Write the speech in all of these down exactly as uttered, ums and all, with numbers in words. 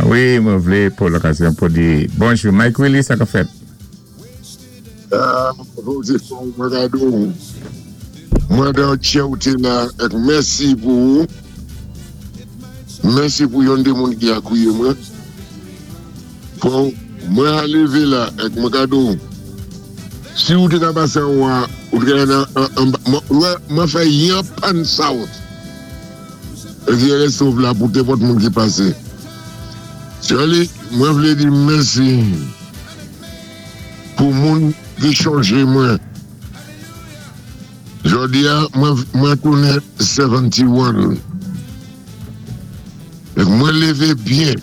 Wi, mwen vlé pou lokazyon pou di bonjou. Mike Willis, sa ka fèt? Ah, bonjou, mwen gado. Mwen dan tchè ou té la, èk mèsi pou ou. Mèsi pou yon dé moun ki akwiyé mwen. Bon, mwen a lévé la, èk mwen gado. Si ou té ka pasé an wa, ou té ka nan, an, mwen, mwen fè yon pan south. Èk yè sov la pou nenpòt moun ki pasé. Charlie, mwen vlé di mèsi pou moun ki chanjé mwen. Jòdi a, mwen, mwen tounen katrevenyen. Èk mwen lévé byen.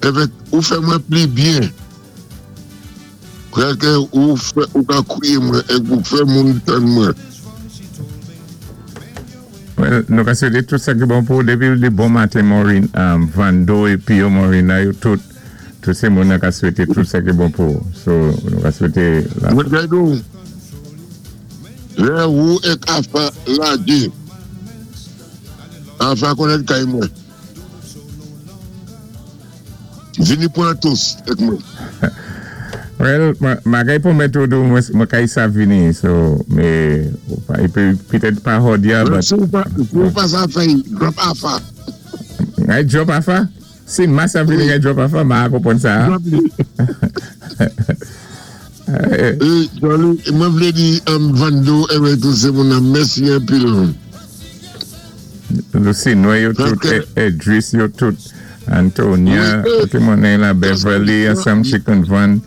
Èvèk ou fè mwen pli byen. Prèké ou fè, ou ka kwiyé mwen, èk ou fè moun tann mwen. Well, nou ka swété tout sa ki bon pou dépi di bon maten Maureen, um, Vando é Pio Maureen, yo tout, tout sé moun ka swété tout sa ki bon pou. So, nou ka swété la. Mwen gado, lè ou èk Afa lagé, Afa konnèt kay mwen. Vini pwan toast èk mwen. Well, ma kay pwomèt ou dou mwen kay sa vini, so, mé, é pitèt pa jòdi a, but... Si ou pa, si ou pa sa fèy, drop Afa. Ngay drop Afa? Si ma sa vini ngay drop Afa, ma konpwann sa. Drop li. E, Charlie, mwen vlé di um, Vando èwè tout sé moun nan mèsi anpil. Lucy Noy yo tout, Paské- Edris yo tout, Antonia, Wi, tout moun la Beverly, ansanm Chicken Van,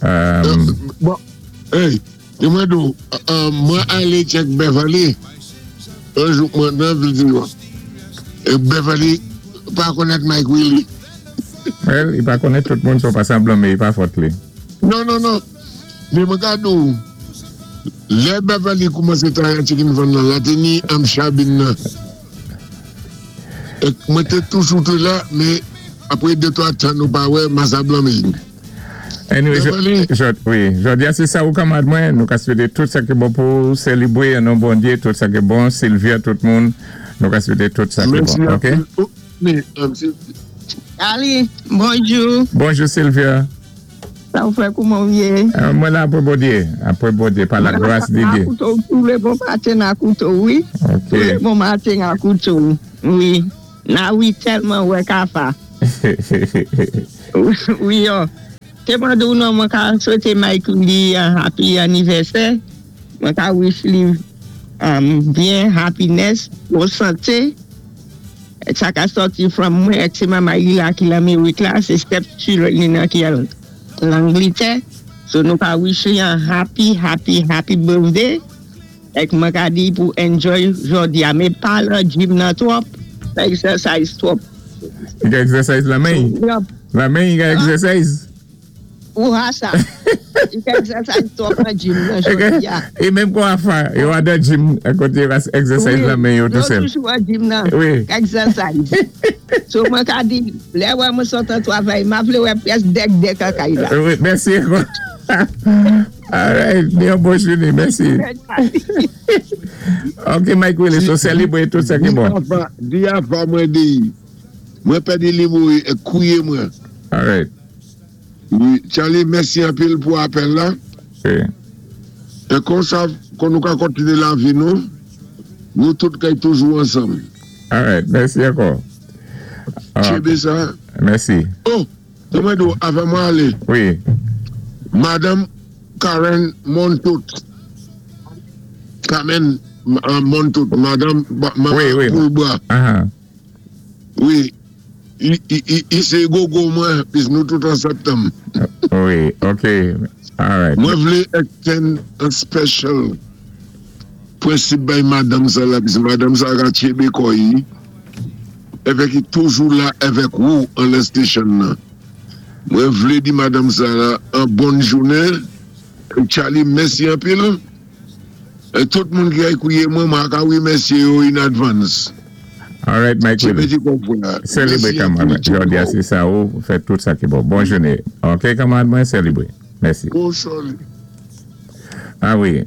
um, Bon, hey, di mwen dou, uh, mwen alé check Beverly, yon jou mwen nan vil di yo. E Beverly, pa konnèt Mike Willie. Well, i pa konnèt tout moun, so pa sanblan, mé i pa fòt li. Non, non, non. Mé mwen gado, lè Beverly koumansé travay Chicken Van nan, la té ni am chabin nan. E mwen té toujou té la, mé apwé de twa tan nou pa wè, masa blanmé. Anyway, Beverly. jo, wi, jòdi a sé sa ou kanmad mwen, nou ka swété tout sa ki bon pou sélébwé an non Bondyé, tout sa ki bon, Sylvia, tout moun, nou ka swété tout sa ki Mèsi bon, ok? anpil. Oh, mé, um, Sylvia. Ali, bonjou. Bonjou Sylvia. Sa ou fè kouman ou yé? Euh, mwen la apwé Bondyé, apwé Bondyé, pa la gras di Dyé. N'a koutou, tout le bon maten n'a koutou, wi. Ok. Tout le bon maten n'a koutou, wi. Na wi tèlman wè kafa. Wi yo. Té mwen di ou non mwen ka swété Mike li un happy anniversaire. Mwen ka wish li um, byen happiness, bon santé. Sa ka sòti from mwen èk sé manman li la ki l'Amérik la, sé step li nan ki al l'Angletè. So nou ka wish li un happy, happy, happy birthday. Èk mwen ka di pou enjoy jòdi a. Mé pa lan gym nan twòp, fè exercise twòp. I ka exercise la men? Yup. La men i ka exercise? Ou ha sa. I ka exercise twòp nan gym nan jòdi a. É menm kon Afa, yo a dan gym, koté yo ka exercise la men yo tout Yo sèl. toujou an gym nan. Wi. Exercise. So mwen ka di, lè wè mwen sot an travay, ma vlé wè près dèk dèk an kay la. Wi, mèsi. Alright, ni yon bon jouné, mèsi. Ok, Mike Willis, so sélébwé tout sa ki Di bon. Afa, di Afa mwen di, mwen pèdi li mou e kouye mwen. Alright. Wi, Charlie, mèsi anpil pou apèl la. Ok. É konsa, kon nou ka kontiné lavi nou, nou tout kay toujou ansanm. Alright, mèsi ankò. Tchébé sa. Mèsi. Oh, te mwen do, avan mwen alé. Wi. Madame Karen Montout. Carmen uh, Montout, Madame Maman Wi, wi. Poulbois. Aha. Wi. I, i, i, i sé gogo mwen, pis nou tout an septanm. Wi, ok. Alright. Mwen vlé extend an special prensip bay madame sa la, pis madame sa ka tchébé kò'y, èvèk i toujou la èvèk ou an lè station nan. Mwen vlé di madame sa la an bon jounen, Charlie, mèsi anpil. É tout moun ki ay kouye mwen, mwen ka wimèsyé yo in advance. Alright, Mike Tchébé Willis. di konpwen. Sélébwé kanmad. Jòdi a sé sa ou fè tout sa ki bon. Bon jouné. Ok, kanmad mwen, sélébwé. Mèsi. Bon Charlie. Ah wi.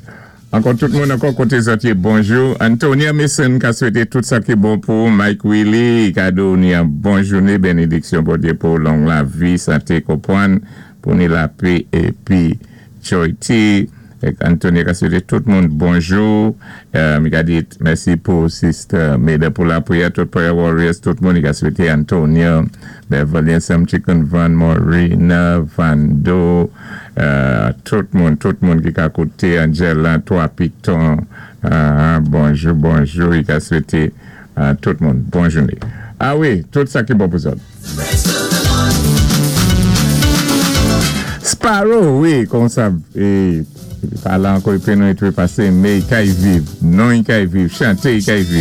Ankò tout moun ankò koté zòt yé, bonjou. Antonia Mason ka swété tout sa ki bon pou Mike Willie, ka donni yon bon jouné, bénédiksyon Bondyé pou long lavi, santé, konpwann, pou ni lapè épi Joy T. Èk Antonia ka swété tout moun bonjou. Euh, mi ka di mèsi pou Sister Meda pou lapriyè, tout prayer warriors, tout moun i ka swété Antonia, Beverly ansanm Chicken Van, Morena, Vando, euh, tout moun, tout moun ki ka kouté, Angela, Trois Pitons, euh, bonjou, bonjou, i ka swété euh, tout moun, bon jouné. Ah wi, tout sa ki bon pou zòt. Sparrow, wi, kon sa, é, pa la ankò, i nou trépasé, mé i kay viv, non i kay viv, chanté i kay viv.